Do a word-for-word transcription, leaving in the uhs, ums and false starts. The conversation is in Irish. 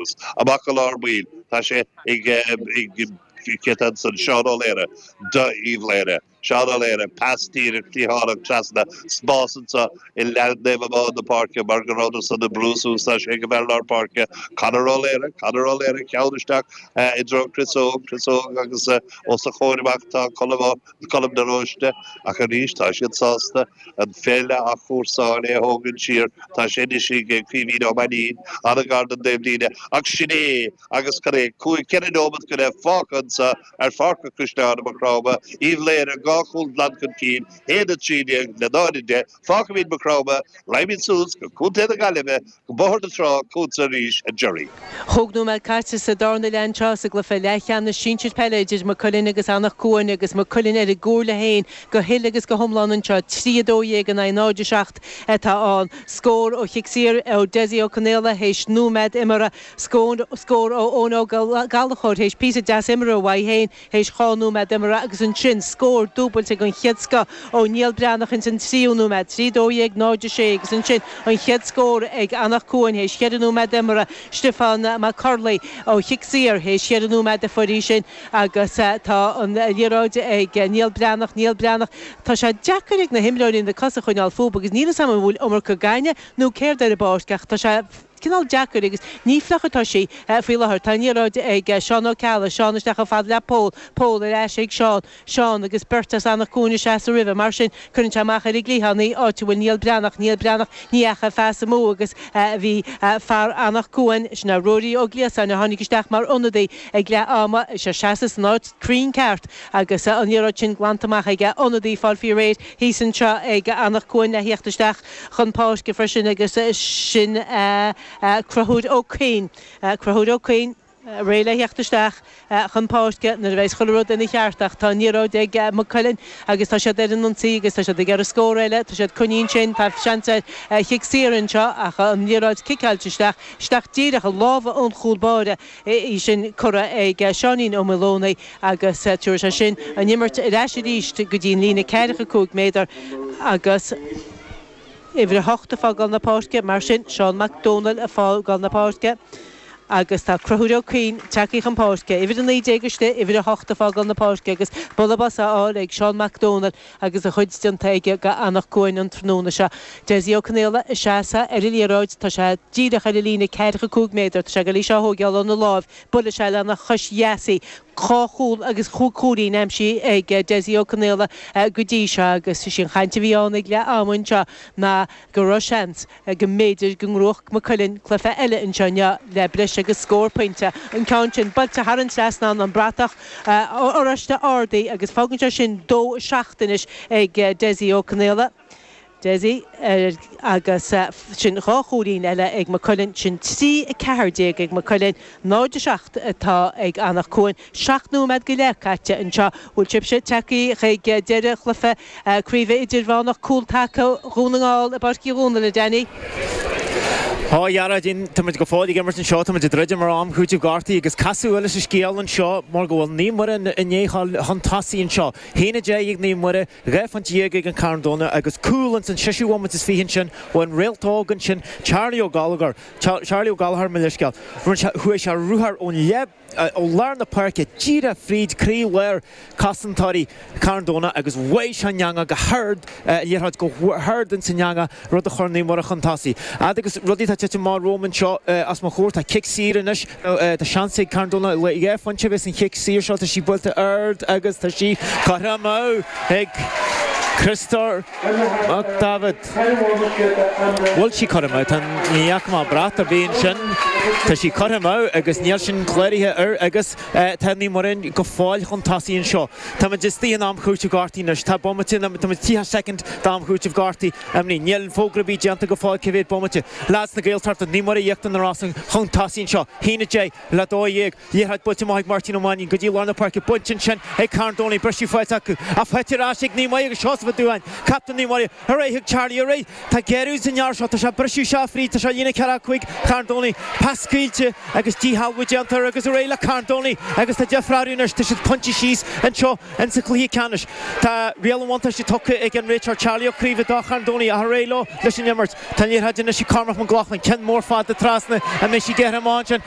suas amach go lár baill tá sé ag ag cétan san Seán Ó Laoire d'Uíbh Laoire. Seán Ó Laoire pas díreach cliathánach trasna spás anseo i leath amháin na páirce mar go raibh san na brúsú tá sé go bhfuil lár páirce Conor Ó Laoire Conor Ó Laoire ceann isteach i dtreo Chris Óg Chris Óg agus os a chomhair amach tá Colm de Róiste ach arís tá siad sásta an pheil a chúrsáil é thógann siar tá sé si ag Caoimhín Ó Mainín an-ghar don taobhlíne ach sin é agus chu é cúig ceithre nóiméad go leith fágtha anseo ar Pháirc an Chaisleáin Maigh Chromtha Uíbh Laoire dhá chúl glan chun cinn haon a trí déag le náid a deich fágfaimid Maigh Chromtha raghaimid suas go Contae na Gaillimhe go Bóthar na Trá chugatsa arís a Jerry. Chúig nóiméad caite sa darna leath anseo sa gcluiche leathcheannais sinsir peile idir Maigh Cuilinn agus Anach Cuain agus Maigh Cuilinn ar a gcomhairle féin go huile agus go hiomlán anseo trí a dó dhéag in aghaidh náid a seacht atá ann. Scór ó chic saor ó Dessie Ó Conaola théis nóiméad imeartha scór scór ó Eoin Ó Gallchóir théis píosa deas imeartha uaidh féin théis dhá nóiméad imeartha agus ansin scór dúbailte den chéad scoth ó Niall Breathnach ins an tríú nóiméad trí dó dhéag náid a sé agus ansin an chéad scór ag Anach Cuain théis cheithre nóiméad imeartha Stiofán Mac Corley ó chic saor théis cheithre nóiméad a fuair sin agus tá an liathróid ag Niall Breathnach Niall Breathnach Tá sé deacair ag na himreoirí na cosa a choinneáil fúthu agus níl a fhios agam an bhfuil iomarca gainimh nó céard ar an bpáirc ach tá sé cineál deacair agus ní fliuch atá sí faoi láthair tá an liathróid ag Seán Ó Ceallaigh Seán isteach chomh fada le Pól Pól ar ais ag Seán Seán agus beirt as Anach Cuain ag seasamh roimhe mar sin cuireann sé amach ar an gcliathán í áit a bhfuil Niall Breathnach Niall Breathnach ní dheachaigh pas amú agus bhí fear Anach Cuain sin é Ruairí Ó Gliasáin a tháinig isteach mar ionadaí ag leath ama sé seasamh san áit cruinn ceart agus an liathróid sin glanta amach aige ionadaí fáil faoi réir thíos anseo ag Anach Cuain le theacht isteach chun páirce freisin agus sin Conchúr Ó Cuinn Conchúr Ó Cuinn réidh le theacht isteach chun páirce nuair a bheidh chuile rud ina cheart ach tá an liathróid ag Maigh Cuilinn agus tá siad ar an ionsaí agus tá siad ag iarraidh scór eile tá siad coinín sin tá seans ar chic saor anseo ach an liathróid ciceáilte isteach isteach díreach i lámha an chúl báire í sin curtha ag Seáinín Ó Maolónaigh agus tabharfaidh sé sin an imirt ar ais arís go dtí an líne ceathracha cúig méadar agus uimhir a hocht ag fágáil na páirce mar sin Seán Mac Dónaill ag fágáil na páirce agus tá Conchúr Ó Cuinn tagtha chun páirce uimhir a naoi déag istigh uimhir a hocht ag fágáil na páirce agus buille bos á fháil ag Seán Mac Dónaill agus a chuid déanta aige go Anach Cuain an tráthnóna seo. Dessie Ó Conaola ag seasamh ar an liathróid tá sé díreach ar an líne ceathracha cúig méadar tá sé go lí seo thógáil óna láimh buailfidh sé lena chois dheas í dhá chúl agus chúig chúilín aimsithe ag Dessie Ó Conaola go dtí seo agus sin chaint a bhí ann ag leath ama anseo ná go raibh seans go mb'fhéidir go ngnóthódh Maigh Cuilinn cluiche eile anseo inniu le breis agus scór pointe an ceann sin buailte thar an trasnán an bratach oráiste ardaithe agus fágann sé sin dó seacht anois ag Dessie Ó Conaola. Dessie agus sin dhá chúilín eile ag Maigh Cuilinn sin trí a ceathair déag ag Maigh Cuilinn náid a seacht atá ag Anach Cuain seacht nóiméad go leith caite anseo bhfuil sibhse tagtha chuig deireadh chluiche craoibhe idirmheánach cúltaca Dhún na nGall i bPáirc Uí Dhónaill a Danny. Tá Gearóidín tá go fóill ag imirt anseo tá ag druidim ar am chúiteamh gortaithe agus casadh eile sa scéal anseo mar go bhfuil Naomh Muire i ndiaidh chun tosaigh anseo. Haon a deich ag Naomh Muire, dhá phointe déag ag an Carn Domhnach agus cúl ins an seisiú bhomaite is fiche ansin ó an réalt óg ansin Charlie Ó Gallagher Charlie Ó Gallagher mo leithscéal. Chuaigh sé ruathar ón leath ó lár na páirce díreach fríd croílár cosantóirí Carn Domhnach agus bhuaigh sé an eangach go hard liathróid go hard ins an eangach rud a chuir Naomh Muire chun tosaigh. Fhad agus rudaí tá tite amach romham anseo os mo chomhair tá cic saor anois tá seans ag Carn Domhnach le dhá phointe a bheith san chic saor seo tá sí buailte ard agus tá sí curtha amú ag Christor Mac David. Bhfuil sí curtha amú tá ní fhaca mé brat ar bith ansin tá sí curtha amú agus níl sin cláraithe air agus tá Naomh Muire go fóill chun tosaigh anseo. Tá muid istigh in am chúiteamh gortaithe anois tá bomaite tá muid tríocha soicind d'am chúiteamh gortaithe imní níl fógra ar bith déanta go fóill cé mhéad bomaite. Lads na Gaeltachta Naomh Muire Íochtar na Rosann chun tosaigh anseo haon a deich le dó dhéag liathróid buailte amach ag Máirtín Ó Mainnín go dtí lár na páirce bainte ansin ag Carn Domhnach briseadh faighte acu ach faighte ar ais ag Naomh Muire agus Seosamh Ó Dúháin captaen Naomh Muire ar aghaidh chuig Charlie ar aghaidh tá géarú san fhear seo tá sé briseadh seo fríd tá sé líne ceathracha cúig Carn Domhnach pas scaoilte agus díshealbhú déanta air agus ar aghaidh le Carn Domhnach agus tá difear anois tá siad pointe síos anseo in sa chluiche ceannais tá riail an bhuntáiste tugtha ag an réiteoir Charlie Ó Craoibhe do Charn Domhnach ach ar aghaidh leo leis an imirt tá an liathróid anois ag Cormac Mac Lochlainn ceann mór fada trasna an mbeidh sí gearrtha amach ansin